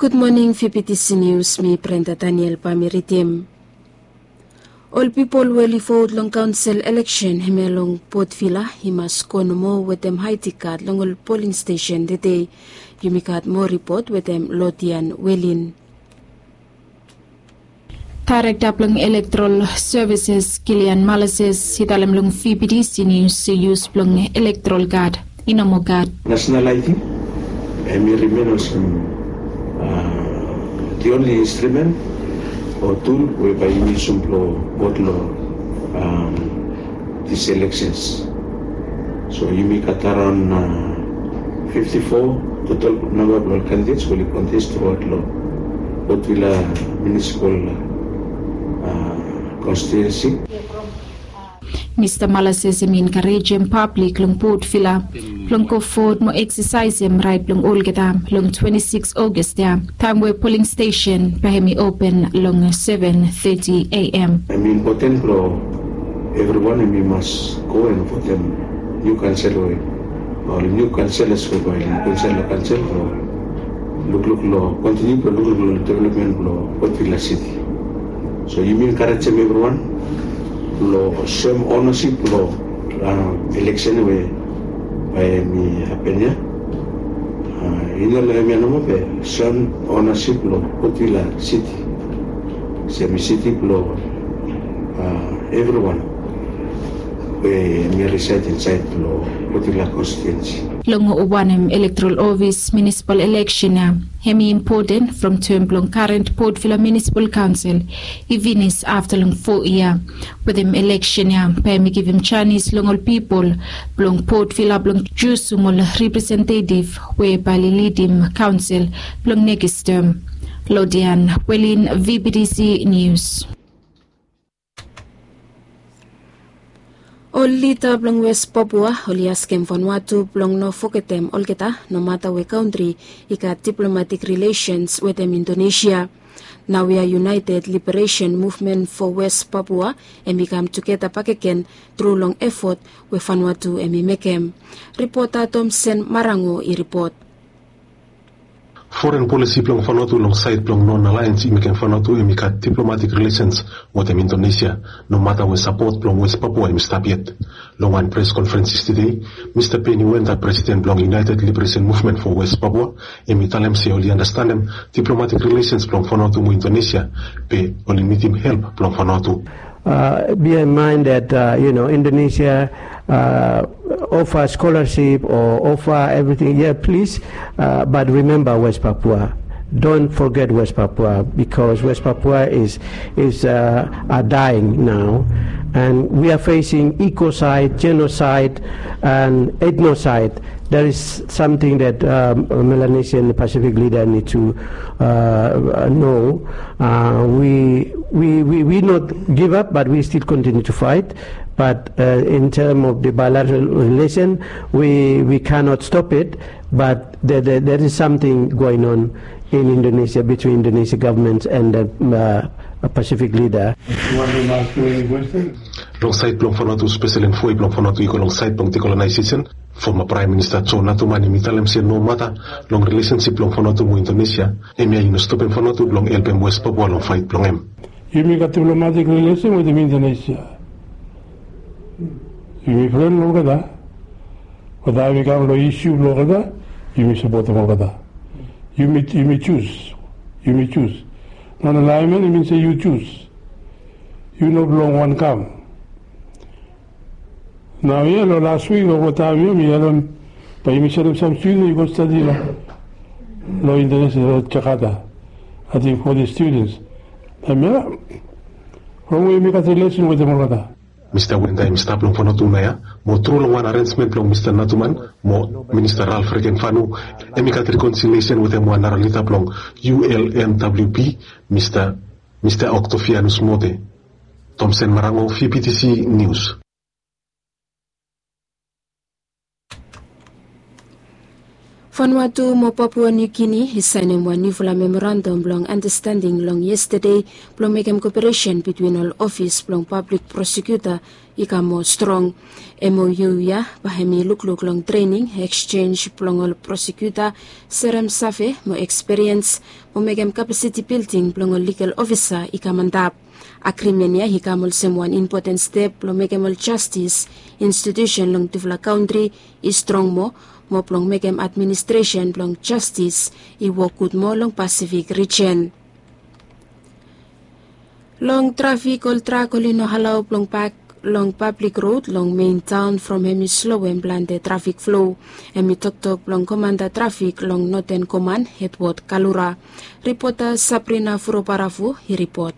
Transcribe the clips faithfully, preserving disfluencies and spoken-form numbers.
Gud moning, V B T C News, mi Brenda Daniel bae mi ridim. Ol pipol we oli vot long kaonsel eleksen hemia long Port Vila i mas go nomo wetem I D kad long ol poling stesen tede. Yumi gat moa ripot wetem Lodian Welin. Daerekta blong Electoral Services, Gillian Malises, i talem long V B T C News se yus blong electoral card i no moa gat. National I D hemi rimen olsem, a, the only instrument o tool we bae yumi yusum blong vot long, a, these elections. So yumi gat araon, a, fifty-four total namba blong ol candidates we oli contest throughout long Port Vila Municipal, a, Constituency. Mista Malises hemi enkarejem pablik long Port Vila blong go vot mo eksasaesem raet blong olgeta long twenty-six August ya, taem we poling stesen bae hemi open long seven thirty A M. Hemi impoten blong evriwan hemi mas go and votem niu kaonsel we, ol niu kaonselas we bae oli go insaed long kaonsel blong lukluk long kontiniu blong lukluk long developmen blong Port Vila City. So yumi enkarejem evriwan blong soem ownasip blong, a, eleksen we bae hemi hapen ya. A, i no long hemia nomo be soem ownasip blong Port Vila City. Se hemi siti blong, a, evriwan we hemi resaed insaed long Port Vila konstituensi. Long wanem electoral office municipal election ya, hemi impoten from term blong current Port Vila Municipal Council i finis afta long fo yia. Wetem eleksen ya bae hemi givim janis long ol pipol blong Port Vila blong jusum ol representative we bae oli lidim kaonsel blong nekis term. Lodian Welin, V B T C News. Ol lida blong West Papua oli askem Vanuatu blong no fogetem olgeta, nomata we kantri i gat diplomatik rilesens wetem Indonesia. Naoia United Liberation Movement for West Papua hemi kam tugeta bakegen tru long efot we Vanuatu hemi mekem. Ripota Tomsen Marango i ripot. Foren polisi blong Vanuatu long saed blong non-alliance i mekem Vanuatu hemi gat diplomatik rilesens wetem Indonesia, nomata we sapot blong West Papua hemi stap yet. Long wan pres konferens yestede, Mista Penny Wenda, presiden blong United Liberation Movement for West Papua, hemi talem se oli andastanem diplomatik rilesens blong Vanuatu mo Indonesia, be oli nidim help blong Vanuatu. Uh, bear in mind that, uh, you know, Indonesia, uh, offer scholarship or offer everything. Yeah, please, uh, but remember West Papua. Don't forget West Papua, because West Papua is, is, uh, are dying now, and we are facing ecocide, genocide, and ethnocide. There is something that, um, Melanesian Pacific leader need to, uh, know. Uh, we, we, we, we not give up, but we still continue to fight. But, uh, in term of the bilateral relation, we, we cannot stop it. But there, there, there is something going on in Indonesia between Indonesia government and the, uh, Pacific leader. Long saed blong Vanuatu, spesel en foe blong Vanuatu i go long saed blong dekolonaiseson. Foma Praem Minista John Natuman hemi talem se nomata long rilesensip blong Vanuatu mo Indonesia, hemia i no stopem Vanuatu blong helpem West Papua long faet blong hem. Yumi gat diplomatik rilesen wetem Indonesia. Yumi fren long olgeta. Be taem i kam long isiu blong olgeta, yumi sapotem olgeta. Yumi, yumi jus. Yumi jus. Non-alignment i min se yu jus. Yu no blong wan kam. Naoia long las wik o olgeta mi, mi harem bae yumi sendem sam studens i go stadi long, long Indonesia, long Jakarta. Ating foti studens. Hemia from we yumi gat rilesen wetem olgeta. Mista Wenda hemi stap long Vanuatu naoia, mo tru long wan arensmen blong Mista Natuman mo Minista Ralph Regenvanu, hemi gat rekonsiliesen wetem wan nara lida blong U L N W P, Mista, Mista Octavianus Mote. Tomsen Marango, V B T C News. Vanuatu mo Papua New Guinea i saenem wan niufala memorandam blong andastanding long yestade blong mekem koperesen bitwin ol ofis blong pablik prosekuta i kam moa strong. M O U ya bae hem i lukluk long trening, eksenj blong ol prosekuta, serem save mo ekspiriens mo mekem kapasiti bilding blong ol ligal ofisa i kam antap. Agrimen ya i kam olsem wan impoten step blong mekem ol jastis institusen long tufala kantri i strong moa, mo blong mekem administresen blong jastis i wok gud moa long Pasifik rijen. Long trafik, ol trak oli no alao blong pak long pablik rod long mein taon from hem i sloem plante trafik flo. Hem i toktok blong komanda trafik long Noten Koman, Edward Kalura. Ripota Sabrina Furobaravu i ripot.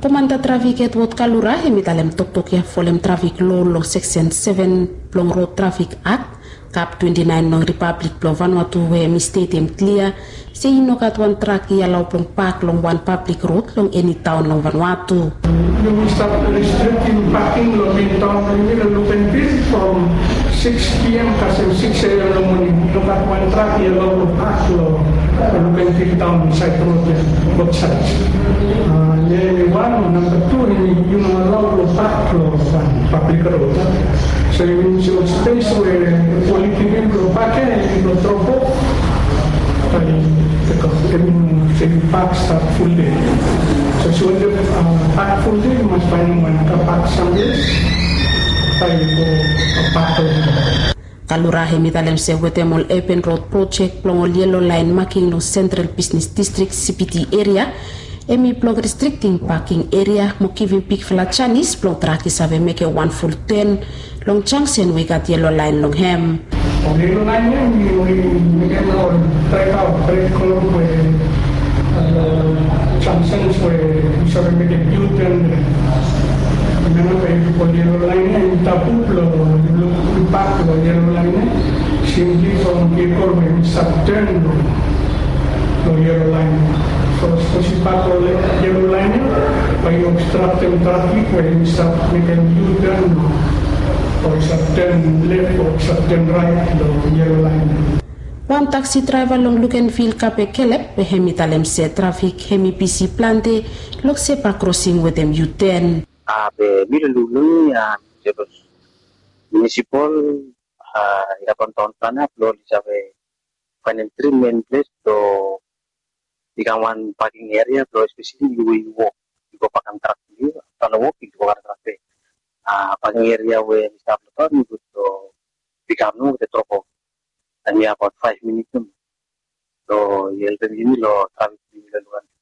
Komanda trafik Edward Kalura hem i talem toktok ya folem trafik lo long seksen seven blong Rod Trafik Akt, kap twenti naen long Ripablik blong Vanuatu, we hem i stetem klia se i no gat wan trak i alao blong pak long wan pablik rod long eni taon long Vanuatu. Yumi stap restriktim paking long mein taon blong yumi long Lukenvil from six P M kasem six A M long moning. I no gat wan trak i alao blong pak long Lukenvil taon, saed rod ya, both sides. Ah, ya hemi wan. Namba tu, hemi yu no alao blong pak long wan pablik rod. So yu minim se ol spes we oli givim blong pak ya, hemi blong drop off. Bae yu tek, hemi no se yu pak stap ful dei. So se yu wantem, ah, pak ful dei, yu mas faenem wan kar pak samples bae yu go, ah, pak long hem. Kalura hem i talem se wetem ol Urban Road Project blong ol yelo laen making long Sentral Bisnis Distrik, C B D eria, hem i blong restriktim paking eria mo givim bigfala janis blong trak i save mekem wan ful ten long jangsen we i gat yelo laen long hem. Ol yelo laen ya hemi oli mekem ol draevaot bred kol we, ah, jangsens we yu save mekem U-turn. Memba, bae yu ol yelo laen ya i tabu blong yu luk, yu pak long yelo laen ya, simpli from vehicle we hemi stap turn long, long yelo laen ya. So sapos yu pak long yelo laen ya, bae yu obstraktem trafik we hemi stap mekem U-turn o i stap turn left o i stap turn right long yelo laen ya. Wan taksi draeva long Lukenvil, Kape Kelep, we hem i talem se trafik hem i bisi plante long zebra krosing wetem U-turn. Ah, be mi long lulung ya, mi long munisipal, ah, i gat wan taon plana blong oli save faenem tri mein ples blong i kam wan paking eria blong espeseli yu we yu wok, yu go pakam trak blong yu, afta long wok yu go karem trak bek. Ah, paking eria we hemi stap long taon i gud blong pikam nomo wetem drop off. Hemi abaot faef minit nomo. So i helpem yumi long trafik blong yumi long Lukenvil.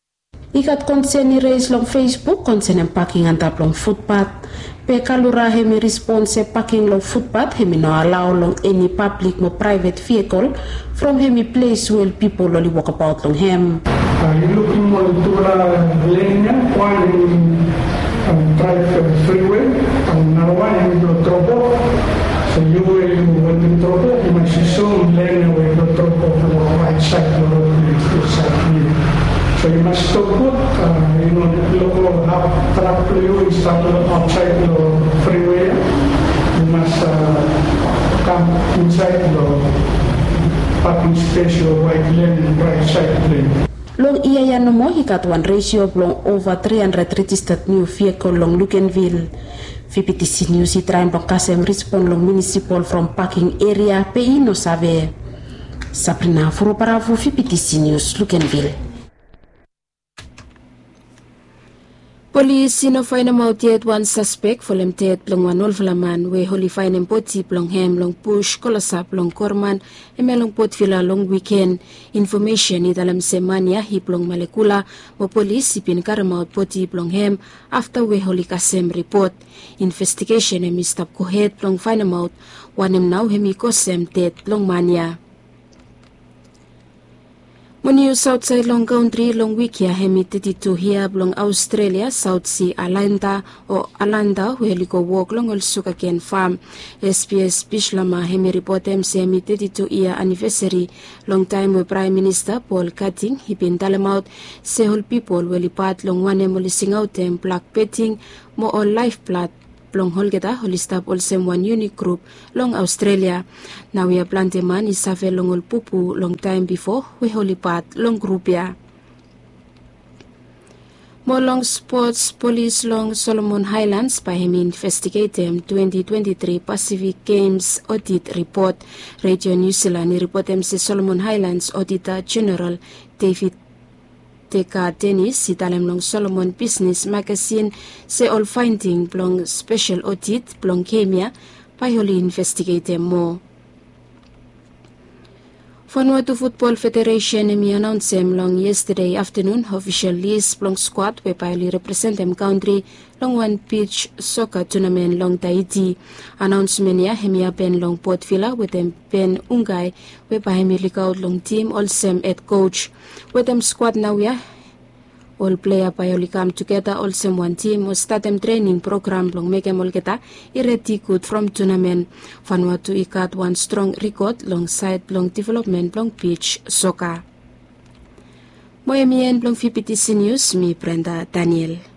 I gat konsen i res long Facebook konsenem paking antap long futbat. Be Kalura hem i respon se paking long futbat hem i no alao long eni pablik mo praevet vehicle from hem i ples we ol pipol oli wokabaot long hem. Ah, yu lukim ol tufala len ya, wan hem i, ah, draev, ah, friwe, ah, narawan hem i blong drop off. So yu we yu wantem drop off, yu mas yu soem len ya we yu blong drop off long raet saed blong rod blong yu, saed blong yu. So yu mas stop gud, ah, yu no lego haf trak blong yu i stap long aotsaed long friwe ya. Yu mas, ah, kam insaed long paking spes long waet len, raet saed blong yu. Long yia ya nomo i gat wan resio blong ova tri handred rejisted niu vehicle long Lukenvil. VBTC News i traem blong kasem respon long munisipal from paking eria, be i no save. Sabrina Furubaravu, VBTC News, Lukenvil. Polis i no faenemaot yet wan saspek folem ded blong wan olfala man we oli faenem bodi blong hem long bus klosap long Korman, hemia long Port Vila long wiken. Infomesen i talem se man ya i blong Malekula, mo polis i bin karemaot bodi blong hem afta we oli kasem ripot. Investigesen hemi stap gohed blong faenemaot wanem nao hemi kosem ded blong man ya. Mo nius aotsaed long kantri long wik ya, hemi teti tu yia blong Aostrelia Saot Si Alaenta o Alanta we oli go wok long ol sugaken fam. SBS Bislama hemi ripotem se hemi teti tu yia anivesari long taem we Praem Minista Paul Keating i bin talemaot se ol pipol we oli pat long wanem oli singaotem blak beting mo ol laef blad blong olgeta oli stap olsem wan yunik grup long Aostrelia. Naoia plante man i save long ol pupu long taem bifo we oli pat long grup ya. Mo long spots, polis long Solomon Haelans bae hem i investigetem twenti twenti tri Pasifik Gems odit ripot. Redio Niu Silan i ripotem se Solomon Haelans Odita Jeneral David Teka Denis i talem long Solomon Bisnis magasin se ol faending blong spesel odit blong gem ya bae oli investigetem moa. Vanuatu Futbol Federesen hem i anaonsem long yestade aftenun ofisol lis blong skuad we bae oli representem kantri long wan bij soka tunamen long Taiti. Anaonsmen ya hem i hapen long Port Vila wetem Ben Ungai we bae hem i lukaot long tim olsem hed koj. Wetem skuad naoia ol plea bae oli kam tugeta olsem wan tim o statem trening program blong mekem olgeta i redi gud from tunamen. Vanuatu i gat wan strong rikod long saed blong developmen blong bij soka. Mo hem i en blong VBTC Nius, mi Brenda Daniel.